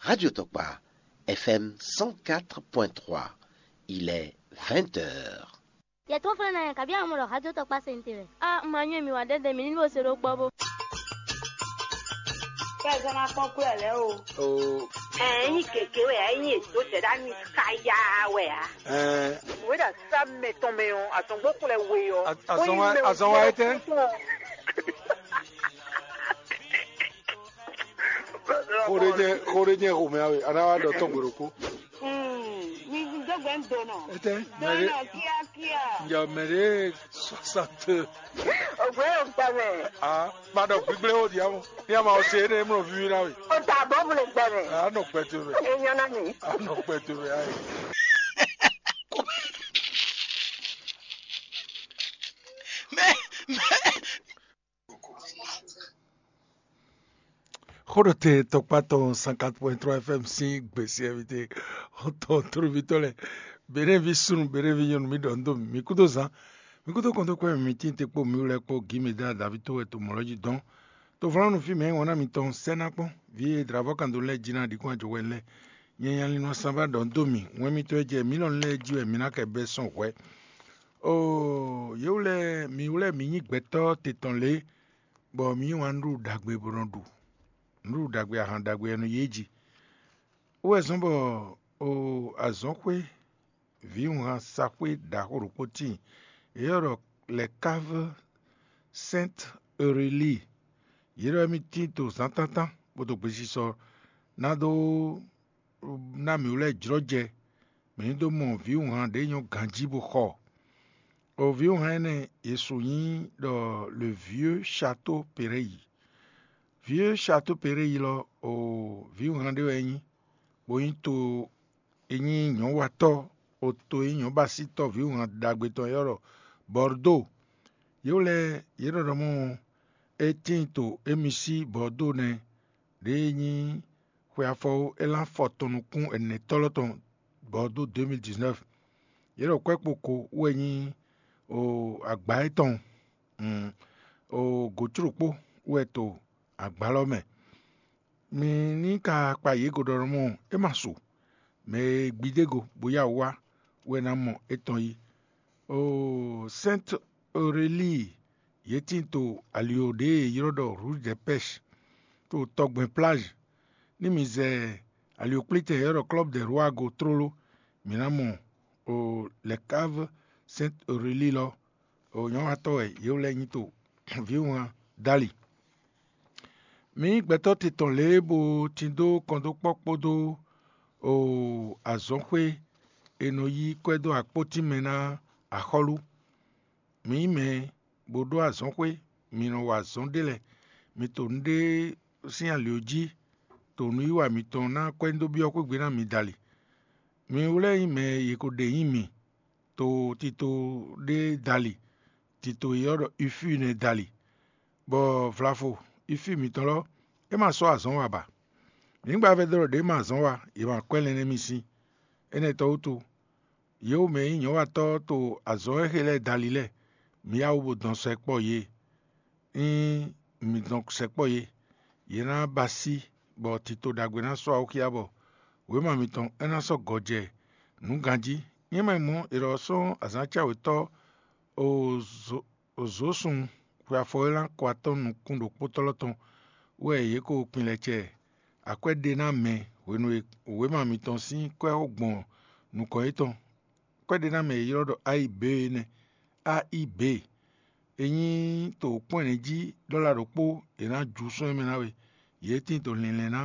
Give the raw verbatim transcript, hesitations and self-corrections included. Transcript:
Radio Tokpa, F M cent quatre point trois. Il est vingt heures. Yɛ tó flɛ́ ná yɛ, kabi amɔ ɖɔ xajo tɔkpa se ntewɛ. A ma nyɔ́ mi wá ɖɛɖɛ mi ní bo se ɖó kpɔ́ bó. Kɛ zɔn ná kpɔ́n kú ɛ lɛ́ o. O. Ɛ, ɛ nyí gěgé wɛ, ɛ nyí èdó zɛ̌ ɖá mi káyá wɛ ǎ. Ɛ. Wěɖa sá mɛ tɔn mɛ ɔ́, azɔngbó xlɛ we ɔ́. A-, azɔn wa, azɔn wa etɛ́? Xó ɖé jɛ, xó ɖé jɛ xomɛ awe, a ná wá ɖɔ tɔn gbe ɖokpó. Hmm, mi dó gbɛ ń do nɔ. Etɛ́, mɛ ɖé. Dɔnɔ kíákíá. Njɛ mɛ ɖé soixante. Ògbé yóò gbà mɛ. Ah, ma ɖɔ gbígbélé ó di amɔ. Ní a ma ɔ se énɛ́ mlɔ víví ná we. O ta bɔ mu le gbà mɛ. A nɔ gbɛ to mɛ. E nyɔ na mi. A nɔ gbɛ to mɛ ayi. Mɛ, mɛ. Xóɖɔtɛn tɔkpá tɔn cent quatre point trois F M sín gbèsè ɛvité xɔtɔn tlóvítɔ́ lɛ́ɛ, Benɛ́vi súnnu, Benɛ́vi nyɔ̌nu, mi ɖɔ nǔ dó mì, mi kúdó zán, mi kúdó kɔn dó kpɛ́ mì, mi tín te kpó mi wú lɛ́ɛ kpó gǐ mi dá Davíd tó wɛ to mɔ̌ lɔ́ jí dɔn. Tovlánú fí mɛ e wɔn ná mitɔn sɛ́ ná kpɔ́n, vǐ e dlǎvɔ́ kan dó lɛ́ɛ jí ná ɖi kún ajɔ̌ wɛ lɛ́ɛ. Nyɛ nya Linɔ Sanvá ɖɔ nú dó mì, wɛn mitɔn e jɛ mǐ lɔ lɛ́ɛ jí wɛ mi ná kɛ bɛ́ sɔn hwɛ̌. Oo, yě wlɛ́ mǐ wlɛ́ mǐ nyí gbɛtɔ́ te tɔn lě, bɔ mǐ yí wǎn nǔɖuɖu ɖagbe bó nɔ ɖu, nǔɖuɖu ɖagbe ahan ɖagbe e nɔ yí é jí. É wɛ zɔ́n bɔ, oo, azɔ̌xwé vǐwunhan saxwé ɖaxó ɖokpó tíin, yě ylɔ́ ɖɔ Les Caves Sainte Aurélie. Yě ɖɔ émí tíin to zǎntántán, bó dó gbesisɔ ná dó ná mǐ wú lɛ́ɛ jlɔ́ jɛ, mǐ ní dó mɔ vǐwunhan ɖě nyɔ́ ganjí bó xɔ. O vǐwunhan énɛ́ e su nyí ɖɔ Le Vieux Château Péréyi. Vieux Château Péréyi lɔ, o vǐwunhan ɖé wɛ é nyí, bó nyí to e nyí nyɔ̌watɔ́, o to e nyí nyɔ̌basítɔ́ vǐwunhan ɖagbe tɔn e ylɔ́ ɖɔ Bɔrdó. Yě wlɛ́ yě ɖɔ ɖɔ mɔ é tíin to émi sí Bɔrdó nɛ́, ɖě e nyí xwe afɔwú élán fɔtɔn nukún ɛnɛtɔ́lɔ́ tɔn Bɔrdó deux mille dix-neuf. Yě ɖɔ kwɛ́ kpo ko wɛ nyí o agba étɔn, mm, o gǒcló kpó wɛ to agba lɔ mɛ. Mi ní ka kpa yě go ɖɔ mɔ é ma su, mɛ e gbidé go bó yá wú wá wɛ ná mɔ étɔn yí. Oo, Sainte Aurélie, yě tín to ali ɖě e è ylɔ́ ɖɔ Rouge des Pêches, to tɔgbɛn plage. Ní mi zɛ ali kplítɛn e ylɔ́ ɖɔ Club des Rois go tlóló, mi ná mɔ, oo, Les Caves Sainte Aurélie lɔ, oo, nyɔ̌watɔ́ wɛ yě wlɛ́ nyí to vǐwunhan dali. Mi nyí gbɛtɔ́ titɔn lě e bo tin dó kɔndókpɔ́ kpódó, oo, azɔ̌xwé e nɔ yí kwɛ́ dó akpótín mɛ ná axɔ́lú. Mi nyí mɛ e bo ɖó azɔ̌xwé, mi nɔ wa azɔ̌ ɖé lɛ́ɛ, mi to nǔɖé sín ali jí, to nǔwiwa mitɔn ná kwɛ́ dó byɔ́ xwé gbe ná mi dali. Mi wlɛ́ nyí mɛ e yě ko ɖe nyí mi, to tito ɖé dali, tito e ylɔ́ ɖɔ Ifíi nɛ́ dali, bɔ vlafo Ifíi mitɔn lɔ, é ma sɔ́ azɔ̌ wa ba. Nyǐgbavɛ́ ɖɔ ɖě ma azɔ̌ wa, yě ma kwɛ́ lɛ́nlɛ́n mì sín. Énɛ́ tɔn wútu, yě wú mɛ e nyí nyɔ̌watɔ́ to azɔ̌ e xe lɛ́ɛ dali lɛ́ɛ, mi yá wú bó dɔn sɛkpɔ́ yě. Ényí mi dɔn sɛkpɔ́ yě, yě ná ba sí, bɔ tito ɖagbe ná sɔ́ awu xyá bɔ wěma mitɔn é ná sɔ́ gɔjɛ nǔ ganjí. Nyɛ ma mɔ è ɖɔ sɔ́ azǎn cáwetɔ́ Ozosún xwe afɔ e ná kɔ atɔ́ nukún ɖokpótɔ́ lɔ tɔn wɛ yě ko kpin lɛ cɛ akwɛ́ ɖe ná mɛ hwenu e wěma mitɔn sín kwɛ́ gbɔn nukɔn yětɔn. Kwɛ́ ɖé ná mɛ e ylɔ́ ɖɔ A I B é nɛ́. A I B. É nyí to kpɔ́n ɛnɛ jí ɖɔla ɖokpó è nǎ ju sɔ́ émɛ ná we. Yě tín to linlɛn ná